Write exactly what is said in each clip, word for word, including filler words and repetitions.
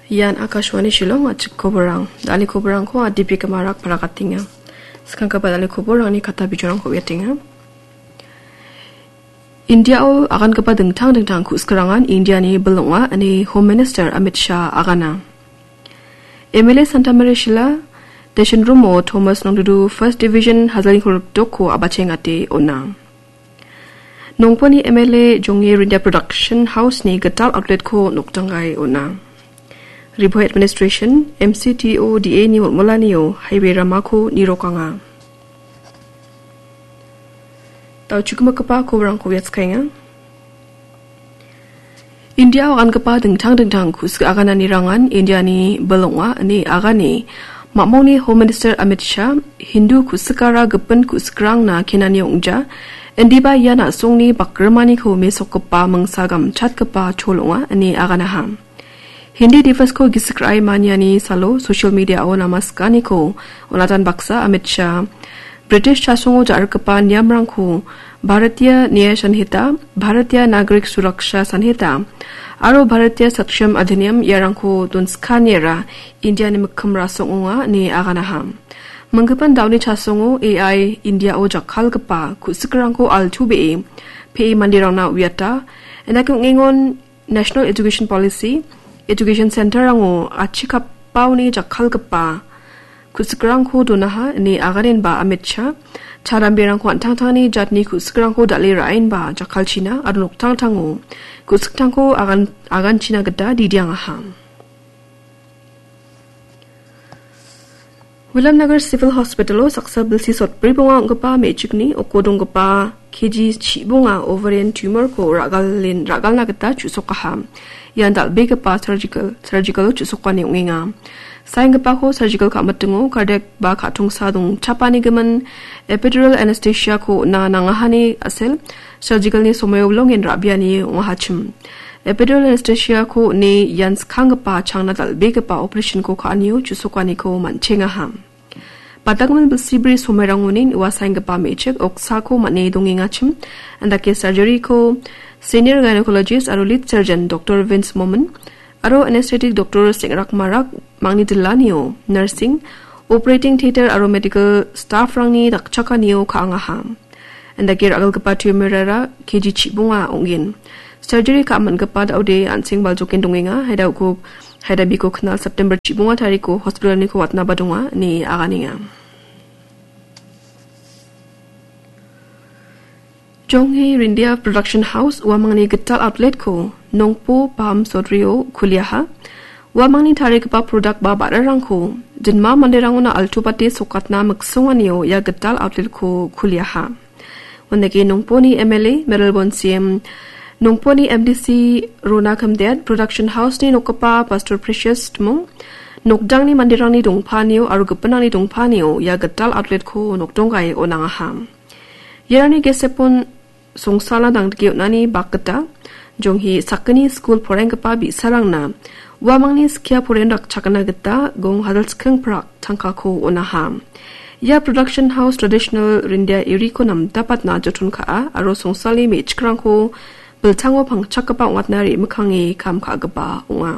Ian Akashvani Shillong, a·chik koborang. Dal·e koborangko Adipi Kamarak parakatenga. Skanggipa dal·e koborangni kata bijorangko uiatenga. Indiao agangipa dingtang dingtang ku·sikrangan Indiani bil ong·a, ine Home Minister Amit Shah agana. M L A Santa Maria Shila, Deshan Rumo Thomas Nongdudu First Division Hajalni kolgrikdokko a·bachengate on·a. Nongponi M L A Jongni Rindia Production House-ni gital outlet-ko nokdanggae on·a. Ri Bhoi Administration, M C T O D A-ni molmolanio highway ramako nirokanga. Dal·chukmikgipa koborangko uiatskaenga. Indiao agangipa dingtang dingtang ku·sik agananirangan Indiani bil ong·a ine agane. Mamongni Home Minister Amit Shah, Hindu ku·sikara gipin ku·sikrangna kenani ong·ja, indiba ia na·songni bakrimaniko mesokgipa mingsa gamchatgipa chol ong·a ine aganaha. Hindi Divasko gisik ra·e maniani salo social media-o namaskaniko on·atan baksa Amit Shah, British chasongo ja·rikgipa niamrangko Bharatiya Nyaya Sanhita, Bharatiya Nagarik Suraksha Sanhita aro Bharatiya Saksham Adhiniyam iarangko donskaniara Indiani mikkim rasong ong·a ine aganaha. Minggipin daoni chasongo A I Indiao jakkalgipa ku·sikrangko altu be·e pe·e manderangna uiata, indake ong·engon National Education Policy, Education Center-rango achikapaoni jakkalgipa ku·sikrangko donaha ine aganenba Amit Shah, charamberangko an·tangtangni jatni ku·sikrangko dal·e ra·enba jakkalchina aro noktangtango ku·siktangko agan-, aganchina gita didiangaha. Williamnagar Civil Hospital-o saksa bilsi sotbri bonga ong·gipa me·chikni oko donggipa K G chibonga ovarian tumor-ko ra·galen-, ra·galna gita chu·sokaha. Ian dal·begipa surgical, surgical-o chu·sokani ong·enga. Saenggipako surgical ka·mitingo cardiac ba ka·tongsa dongchapanigimin epidural anesthesia-ko on·a nangahani a·sel surgical-ni somoio bilongen ra·biani ong·ahachim. Epidural anesthesia-ko on·e ian skanggipa changna dal·begipa operation-ko ka·anio chu·sokaniko man·chengaha. Batanggimin bilsibri somoirangonin ua saenggipa me·chik oksako man·e dongengachim, indake surgery-ko senior gynecologist aro lead surgeon Doctor Vince Momin aro anesthetic Doctor Sengrak Marak mangni dillanio nursing, operating theatre aro medical staff-rangni dakchakanio ka·angaha. Indake ra·galgipa tumor-ara K G chibonga ong·gen. Surgery ka·mangipa da·ode an·seng baljoken dongenga. Haida uko, haida biko knal September chibonga tariko hospital-niko watnaba donga, ine aganenga. Jonghi Rindia Production House uamangni gital outlet-ko Nongpo Palm Sotrio kuliaha. Uamangni tarigipa product ba ba·rarangko jinma manderangona altu bate sokatna miksonganio ia gital outlet-ko kuliaha. Undake Nongponi M L A, Mayralborn C M, Nongponi M D C Rona Khamdet, Production House-ni nokgipa Pastor Precious Timung, nokdangni manderangni dongpanio aro gipinrangni dongpanio ia gital outlet-ko nokdonggae on·angaha. Iarangni gesepon songsalna dangdike on·ani bak gita, jonghi sakgni skul poraienggipa bi·sarangna uamangni skia poren rakchakna gita gong hajalchking prak tangkako on·aha. Ia production house traditional Rindia iriko namdapatna joton ka·a aro songsalni me·chikrangko biltango pangchakgipa ong·atna re·mikkange kam ka·gipa ong·a.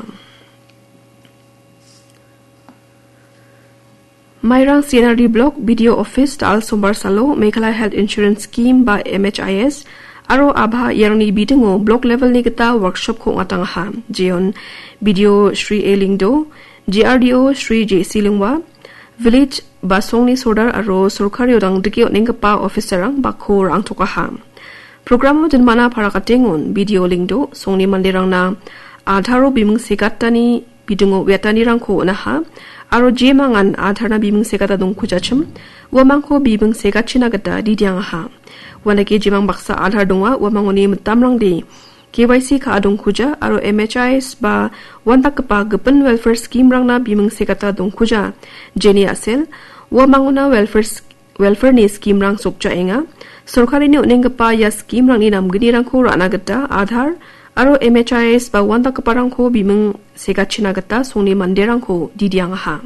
Mairang C N R D Block B D O Office Dal Sombar Salo Meghalaya Health Insurance Scheme ba M H I S aro ABHA iarangni bidingo block level-ni gita workshop-ko ong·atangaha. Jeon B D O Shri A Lingdo, G R D O Shri J C Lingwa, Village ba songni sordar aro sorkario dangdike on·enggipa officer-rang bakko ra·angtokaha. Programo dinmana parakatengon B D O Lingdo songni manderangna Aadhaar-o biming segatani bidingo uiatanirangko on·aha, aro jemangan Aadhaar-na biming segata dongkujachim, uamangko biming segachina gita didiangaha. Uandake jemang baksa Aadhaar donga, uamangoni mitamrangde K Y C ka·a dongkuja, aro M H I S ba uandakgipa gipin welfare scheme-rangna biming segata dongkuja, jeni a·sel, uamangona welfare sk-, welfare-ni scheme-rang sokjaenga. Sorkarini on·enggipa ia scheme-rangni namgnirangko ra·na gita Aadhaar aro M H I S ba uandakgiparangko biming segachina gita songni manderangko didiangaha.